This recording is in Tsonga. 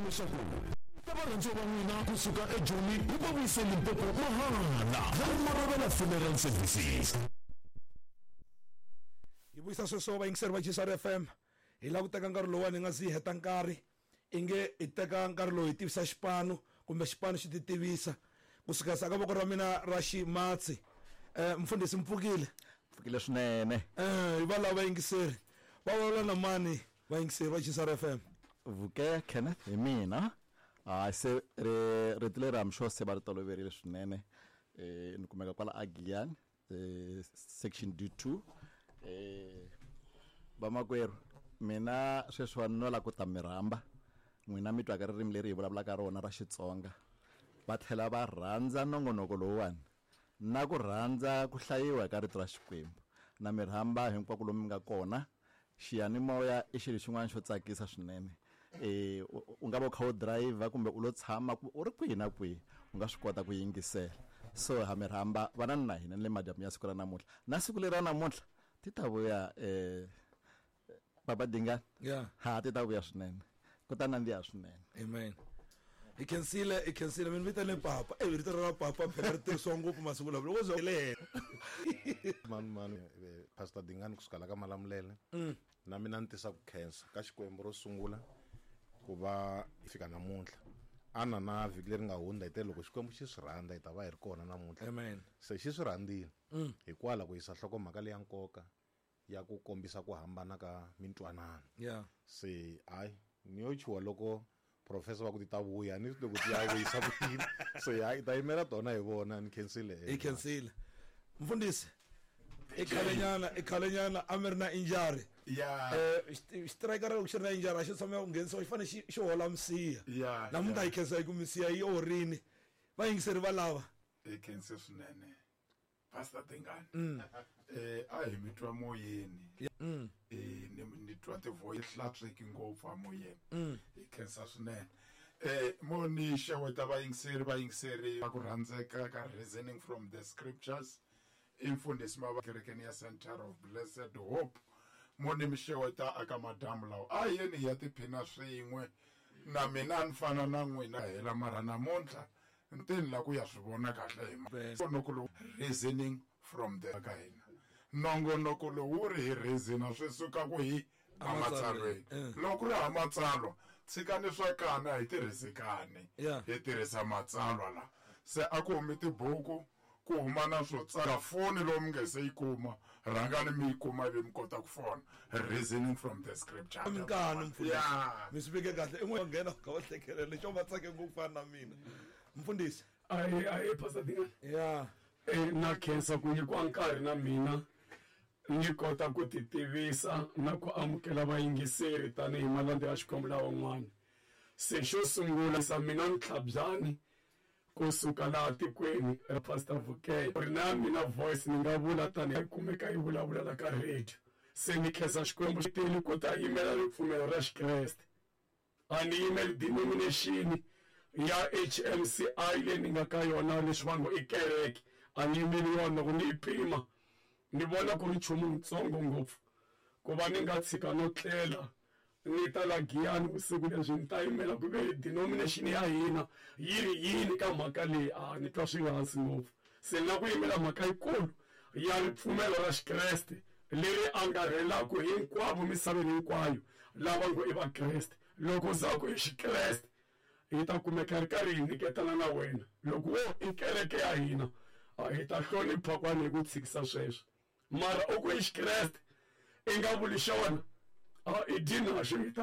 Leswaku ta varhandziwa va n'wina kusuka eJoni yi va vuyise Limpopo mahala. Va Marobela Funeral Services. Hi vuyisa sweswo vayingiseri va GCR FM. Hi lava ku teka nkarhi lowuwani hi nga zi hi heta nkarhi inge hi teka nkarhi lowu hi tivisa xipano kumbe xipano xi ti tivisa kusuka sa ka voko ra mina ra ximatsi. Mfundhisi mpfukile. Pfukile swinene. Hi va lava vayingiseri va vulavula na mani vayingiseri va GCR FM? Vuke Kenneth hi mina. Hayi se rito leri I'm sure se va ri toloverile swinene. Ni kumeka kwala a Giyani, section D2. Vamakwerhu, mina sweswiwani no lava ku ta mi rhamba n'wina mi twaka ririmi leri hi vulavulaka rona ra Xitsonga, va tlhela va rhandza nongonoko lowuwani na ku rhandza ku hlayiwa ka rito ra Xikwembu. Na mi rhamba hinkwako lomu mi nga kona. Xiyanimoya i xilo xin'wana xo tsakisa swinene. U nga va u kha u driver kumbe u lo tshama u ri kwihi na kwihi, u nga swi kota ku yingisela. So ha mi rhamba vanani na hina ni le madyambu ya siku ra namuntlha. Na siku leri ra namuntlha ti ta vuya Papa Dingani. Ha ti ta vuya swinene. Ku ta nandziha swinene. Amen. Hi khensile, hi khensile. Mi ni vitane papa. Rito ra papa phela ri tirhisiwa ngopfu masiku lawa. Loko zo le henhla. Mani, mani, Pastor Dingani kusuka la ka Malamulele. Na mina ni tisa ku khensa ka Xikwembu ro sungula ku va hi fika namuntlha. Ana na vhiki leri nga hundza hi te loko Xikwembu xi swi rhandza hi ta va hi ri kona namuntlha. Amen. Se xi swi rhandzile. Hikwalaho ku yisa nhlokomhaka leya nkoka ya ku kombisa ku hambana ka mintwanano. Se hayi ni yo chuha loko professor va ku ti ta vuya ni loko ti ya vuyisa ku yini. Se hayi ta yimela tona hi vona. Ni khensile. Hi khensile. Mfundhisi, i khalenyana, i khalenyana a mi ri na injury. Xitirayikara loko xi ri na injury a xi tshama ku nghenisiwa, xi fanele xi hola misiha. Namuntlha hi khensa hi ku misiha yi orini. Vayingiseri va lava. Hi khense swinene. Pastor Dingani. A hi mi twa moyeni. Ni twa ti-voice hlantsweki ngopfu a moyeni. Hi khensa swinene. Mo ni xeweta vayingiseri, vayingiseri va ku rhandzeka ka Reasoning from the Scriptures. I mfundhisi Mava kerekeni ya Center of Blessed Hope. Mo ni mi xeweta aka madamu lawa. A hi yeni hi ya tiphina swin'we. Na mina ni fana na n'wina hela mara namuntlha nteni la ku ya swi vona kahle hi nongonoko lowu Reasoning from the ka hina. Nongonoko lowu wu ri hi reason swi suka ku hi amatsalweni. Loko ku ri ha matsalwa, tshikani swa kana hi tirhisi kani. Hi tirhisa matsalwa la. Se a ku humi tibuku, ku huma na swo tsala. Foni lowu mi nge se yi kuma, rhangani mi yi kuma ivi mi kota ku fona. Reasoning from the Scripture. Minkanu, mfundhisi. Mi swi veke kahle. I n'we nghena ka va hlekelela lexo va tsake ngopfu fana na mina. Mfundhisi. Ayi, ayi, Pastor Dingani. Na khensa ku nyikiwa nkarhi na mina ni kota ku ti tivisa na ku amukela vayingiseri tanihi malandza ya Xikwembu lawan'wana. Se xo sungula sa mina ni Tlhabyani kusuka laha tikweni ra Pastor Vukeye. Ri na mina voice ni nga vula tanihi yi kumeka yi vulavula la ka radio. Se ni khensa Xikwembu xi tile ku ta yimela ripfumelo ra Xikreste. A ni yimeli denomination ya HMCI leyi ni nga ka yona leswi vanhu i kereke. A ni yimeli yona, loko ni yi pima ni vona ku ri nchumu wutsongo ngopfu ku va ni nga tshika no tlela ni ta la Giyani vusiku lebyi ni ta yimela ku ve denomination ya hina yi ri yini ka mhaka leyi. A ni twa swi nga hansi ngopfu. Se ni lava ku yimela mhaka yikulu ya ripfumelo ra Xikreste leri angarhelaka hinkwavo misaveni hinkwayo lava ngo i Vakreste. Loko za ku i Xikreste hi ta kumeka ri karhi hi nyiketana na wena. Loko wo i kereke ya hina hi ta hlonipha kwani hi ku tshikisa sweswo. Mara u ku i Xikreste i nga vuli xona, i dyi naxo hi ta.